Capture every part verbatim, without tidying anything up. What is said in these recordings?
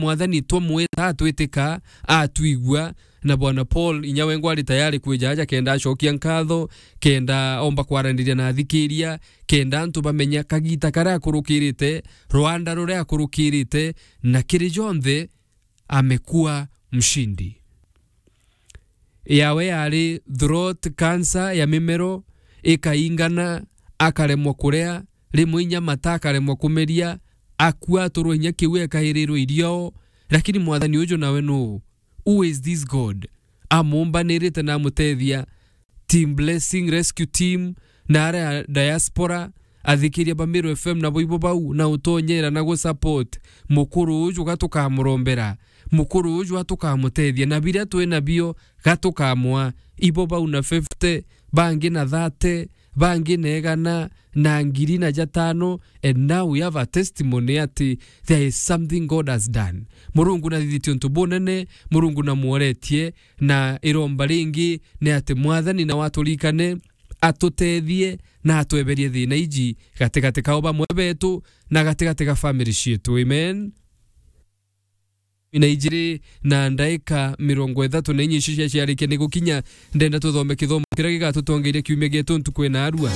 Mwathani twamwita atwitika, atwigua, na Bwana Paul inya wengwa ari tayari kwija aja kenda acokia nkatho, kenda omba kwaraniria na athikiria, kenda antu bamenya kagita karia akurukirite, rwanda ruria akurukirite, na kiri jonthe amekuwa mshindi. Yawe yari throat cancer ya mimero, ikaingana, akaremwa kuria, rimwe inya mata akaremwa kumeria, akua aturwa inya kiu ekairirwe irio. Lakini Mwathani uju nawe nuu? Who is this God? Amumbanirite na amutethia. Team Blessing Rescue Team, na aria diaspora, athikiria ba Meru F M na boibo bau, na utonyera na gu support mukuru uju ga tukamurombera, mukuru uju ga tukamutethia, na biria twi nabio ga tukamwa, ibo bau na fifty, bangi na thirty, bangi na igana, na ngiri na jatano, and now we have a testimony ati there is something God has done. Murungu nathithitie untu bunene, Murungu namworetie, na iromba ringi ni ati Mwathani nawe aturikane, atutethie, na atweberie thina iji gatigati kao bamwe betu, na gatigati ga family cietu. Amen. Na ijiri na ndaika mirongo ithatu na inya icio ciaciarikia ni gukinya, ndenda tuthome kithomo kiria gigatutongeria kiumia gietu ntuku ina arua.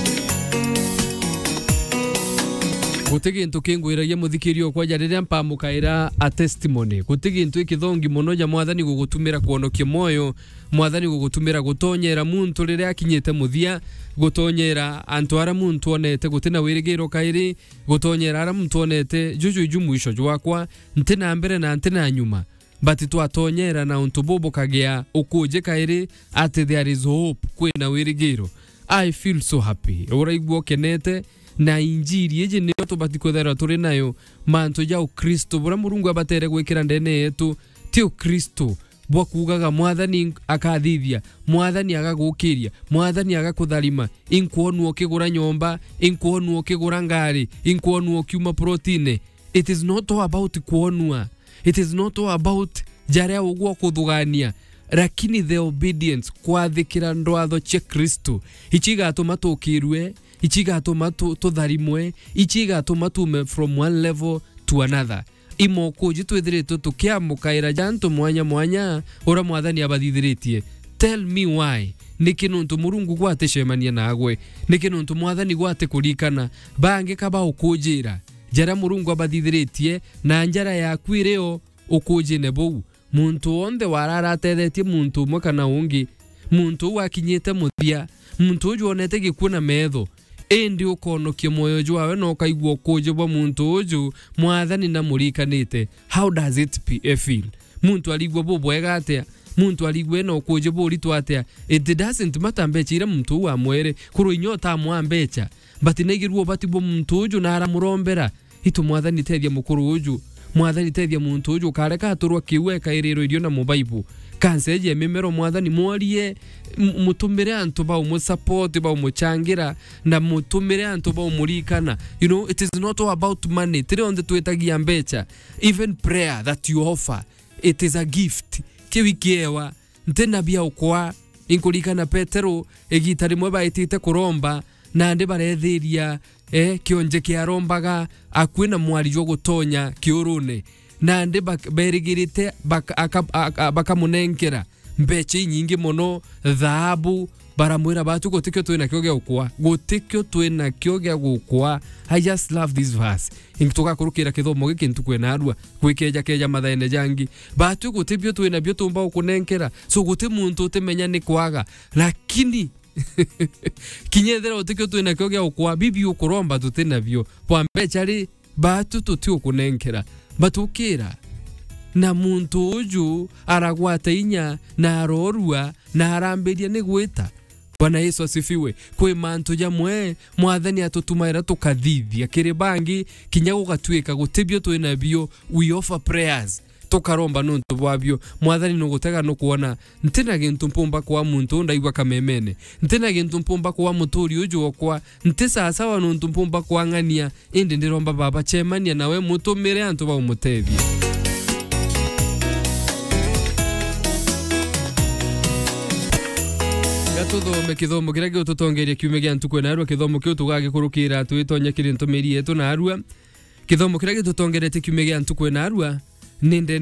Guti gintu kingwiragia muthikiria okwa ja riria mpamukaira a testimony. Guti gintu ikithongi mono ja Mwathani gugutumira kwonokia mwoyo, Mwathani gugutumira gutonyera muntu riria akinyite muthia, gutonyera antu aria muntu onete guti na wirigiro kairi, gutonyera aria muntu onete juju iju mwisho jwakwa, nti na mbere na nti na nyuma. But twatonyera na untu bubu kagia ukuji kairi ati there is hope, kwina wirigiro. I feel so happy. Uraigua ukenete, na injiri iji niyo tubati kwithirwa turi nayo, mantu ja Ukristo, buria Murungu abatere gwikira ndene yetu, ti Ukristo bwa kuugaga, "Mwathani akathithia, Mwathani agagukiria, Mwathani agakutharima, inkwonua ukigura nyomba, inkwonua ukigura ngari, inkwonua ukiuma plotine." It is not all about kwonua. It is not all about jaria ugwa kuthugania. Lakini the obedience, kwathikira ndwatho cia Kristo, ici igatuma tukirue, ici igatuma tu-, tutharimwe, ici igatuma tuume from one level to another. Imokuji twithiritwe tukiamukaira ja antu mwanya mwanya uria Mwathani abathithiritie. Tell me why. Niki nuntu Murungu gwaticemania nagwe? Niki nuntu Mwathani gwatikurikana? Bangi ka baukujira jaria Murungu abathithiritie, na njara yaku iri o ukujine buu. Muntu wonthe warara atethetie muntu umwe kana ungi, muntu uu akinyite muthia, muntu uju onete gikuo na metho, indi ukonokia mwoyo jwawe na ukaigua ukuji bwa muntu uju Mwathani namurikanite. How does it pe-, eh, feel? Muntu arigua bubwega atia? Muntu arigua ena ukuji buritu atia? It doesn't matter mbecha iria muntu uu amwere, kurwa inya utamwa mbecha, but naigirua ubati bwa muntu uju na aramurombera. Itu Mwathani, tethia mukuru uju. Mwathani, tethia muntu uju, ukareka aturwa kiu ekairirwe irio na mubaibu. Kansa iji ya mimero, Mwathani, mworie, m-, mutumire antu ba umusupport, ba umuchangira, na mutumire antu ba umurikana. You know, it is not all about money. Ti rionthe twitagia mbecha. Even prayer that you offer, it is a gift. Kiu ikiewa. Nti na bia ukwa. Inkurikana Petero, igita rimwe baitite kuromba, nandi barethiria, eh, kionje kiarombaga akui na mwari jwa gutonya kiurune. Nandi bak-, berigirite bak-, aka-, aka-, bakamunenkera mbecha inyingi mono, thaabu, baramwira, "Batu, gutikio twinakio gia gukwa. Gutikio twinakio gia gukwa." I just love this verse. Ingi tugakurukira kithomo giki ntuku ina arua, gwikeja keja mathaene jangi. Batu, guti bio twina bio tumba gukunenkera. So, guti muntu utimenya ni kwaga. Lakini, kinya ethira utikio twinakio gia gukwa, bibi ukuromba tuti nabio. Bwa mbecha ri, batu tuti ukunenkera. Batukira. Na muntu uju aragwata inya, na arorua, na arambiria ni gwita. Bwana Yesu asifiwe. Kwi mantu jamwe Mwathani atutumaira tukathithia kiri bangi, kinya gugatuika guti bio twina bio, we offer prayers, tukaromba nuntu bwabio. Mwathani nugutega nukwona, ntina gintu mpumba kwa muntu uu ndaigua kamemene, ntina gintu mpumba kwa muturi uju okwa, nti sawasawa nuntu mpumba kwang'ania, indi ndiromba Baba, cemania nawe, mutumire antu ba umutethia. Gatuthome kithomo kiria gigututongeria kiumia gia ntuku ina arua. Kithomo kiu tugagikurukira twitonya kiri ntumiri yetu na arua. Kithomo kiria gitutongeretie kiumia gia ntuku ina arua Ninde